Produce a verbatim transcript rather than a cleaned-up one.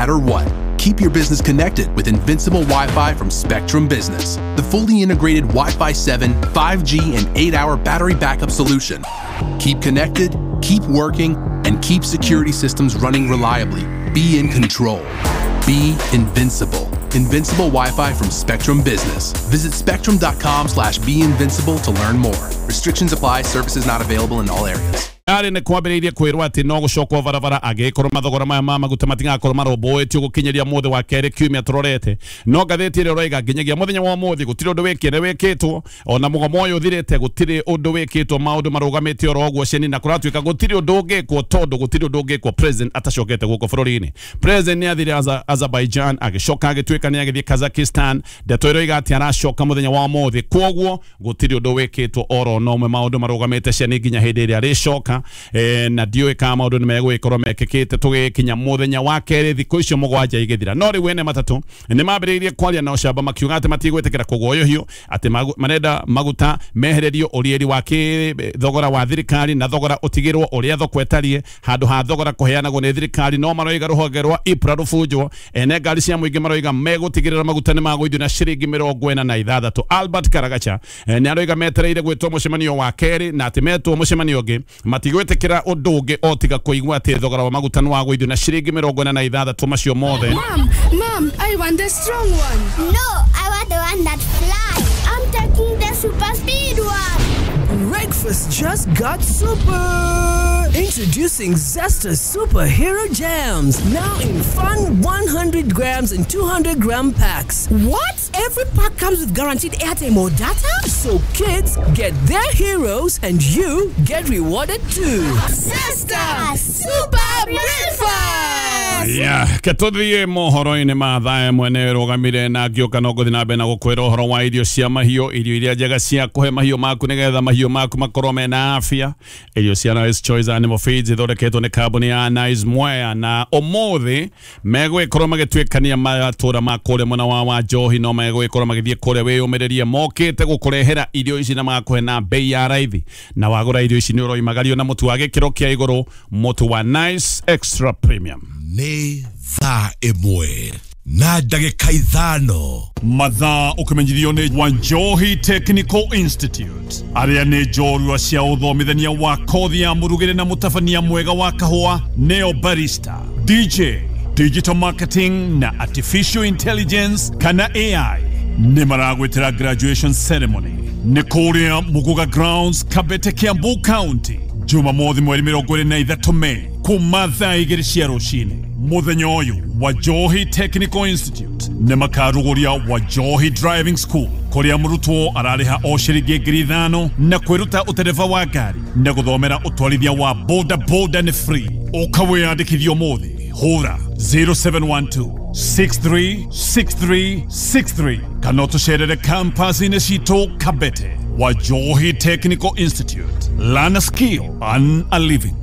matter what. Keep your business connected with Invincible Wi-Fi from Spectrum Business, the fully integrated Wi-Fi seven, five G, and eight hour battery backup solution. Keep connected, keep working, and keep security systems running reliably. Be in control. Be invincible. Invincible Wi-Fi from Spectrum Business. Visit spectrum dot com slash be invincible to learn more. Restrictions apply. Services not available in all areas. Arĩ nĩ kwambĩrĩirie kwĩrwo atĩ no gũcokwo barabara angĩkorwo mathogora maya ma maguta matigakorwo marũmbũĩtio gũkinyĩria mũthĩ wa kerĩ kiumia tũrorete. No ngathĩti ĩrĩa ũroiga nginyagia mũthenya wa ũmũthĩ gũtirĩ ũndũ wĩkĩre wĩkĩtwo, ona mũgomo ũyũ ũthirĩte gũtirĩ ũndũ wĩkĩtwo, maũndũ marũgamĩte oro ũguo ceni, na kũratuĩka gũtirĩ ũndũ ũngĩkwo tondũ gũtirĩ ũndũ ũngĩkwo president atacokete gũkũ bũrũri-inĩ. President nĩ athire Aza- Azerbaijan, agĩcoka agĩtuĩka nĩ agĩthiĩ Kazakhstan. Ndeto ĩroiga atĩ aracoka mũthenya wa ũmũthĩ, kwoguo gũtirĩ ũndũ wĩkĩtwo oro no ũmwe, maũndũ marũgamĩte ceni nginya hĩndĩ ĩrĩa arĩcoka. eh, na ndiũĩ kana maũndũ nĩ megũgĩkorwo mekĩkĩte tũgĩkinya mũthenya wa kerĩ thikũ icio mũgwanja igĩthira. No rĩu ene matatũ nĩ mambĩrĩirie kwaria na ũcamba makiuga atĩ matigwĩtĩkĩra kũguoyohio, atĩ magu- marenda maguta mehererio ũriĩri wa kĩ thogora wa thirikari na thogora ũtigĩrwo ũrĩa thoko ĩtariĩ handũ ha thogora kũheanagwo nĩ thirikari. No maroiga rũhonge rwa EPRA rũbunjwo. Ene ngari cia mũingĩ maroiga megũtigĩrĩra maguta nĩ magũithio na ciringi mĩrongo ĩna na ithathatũ. Albert Karagacha eh, nĩ aroiga metereire gwĩtwo mũcemanio wa kerĩ, na atĩ metwo mũcemanio ũngĩ matigwĩtĩkĩra ũndũ ũngĩ o tiga kũigua atĩ thogora wa maguta nĩ wagũithio na ciringi mĩrongo ĩna na ithathatũ macio mothe. Mom, Mom, I want the strong one. No, I want the one that flies. I'm taking the super speed one. Breakfast just got super! Introducing Zesta Superhero Jams, now in fun one hundred grams and two hundred gram packs. What? Every pack comes with guaranteed airtime or data? So kids get their heroes and you get rewarded too. Zesta Super Breakfast! Yeah, ke tũthiĩ mohoro-inĩ ma thaa ĩmwe nĩ rũgamire na ngĩũka no ngũthiĩ na mbere na gũkwĩra ũhoro wa irio cia mahiũ, irio iria njega cia kũhe mahiũ maku nĩgetha mahiũ maku makorwo mena afya. Irio cia Nice Choice Animal Feeds ithondeketwo nĩ kambuni ya Nice Mwea, na ũmũthĩ megũgĩkorwo magĩtuĩkania matũra ma kũrĩa mwena wa wa Njohi, no megũgĩkorwo magĩthiĩ kũrĩa wĩyũmĩrĩrie mokĩte gũkũrehera irio ici na magakũhe na bei ya raithi, na wagũra irio ici nĩ ũroimagario na mũtu wa gĩkĩro kĩa igũrũ, mũtu wa Nice Extra Premium. Nĩ thaa ĩmwe na ndagĩka ithano. Mathaa ũkĩmenyithio nĩ Wanjohi Technical Institute, arĩa nĩ njorua cia ũthomithania wa kothi ya mũrugĩre na mũtabania mwega wa kahũa, neo barista, D J, digital marketing na artificial intelligence kana A I, nĩ maragwĩtĩra graduation ceremony nĩ kũrĩa Muguga Grounds, Kabete, Kiambu County, Jumamothi mweri mĩrongo ĩrĩ na ithatũ Mei kuma thaa igĩrĩ cia rũcinĩ. Mũthenya ũyũ Wajohi Technical Institute nĩ makarugũria Wajohi Driving School, kũrĩa mũrutwo ararĩha o ciringi ngiri ithano na kwĩruta ũtereba wa ngari na gũthomera ũtwarithia wa boda boda nĩ free. Ũka wĩyandĩkithie ũmũthĩ, hũra zero seven one two six three six three six three kana ũtũcerere campus-inĩ citũ Kabete. Wajohi Technical Institute, learn a skill, earn a living.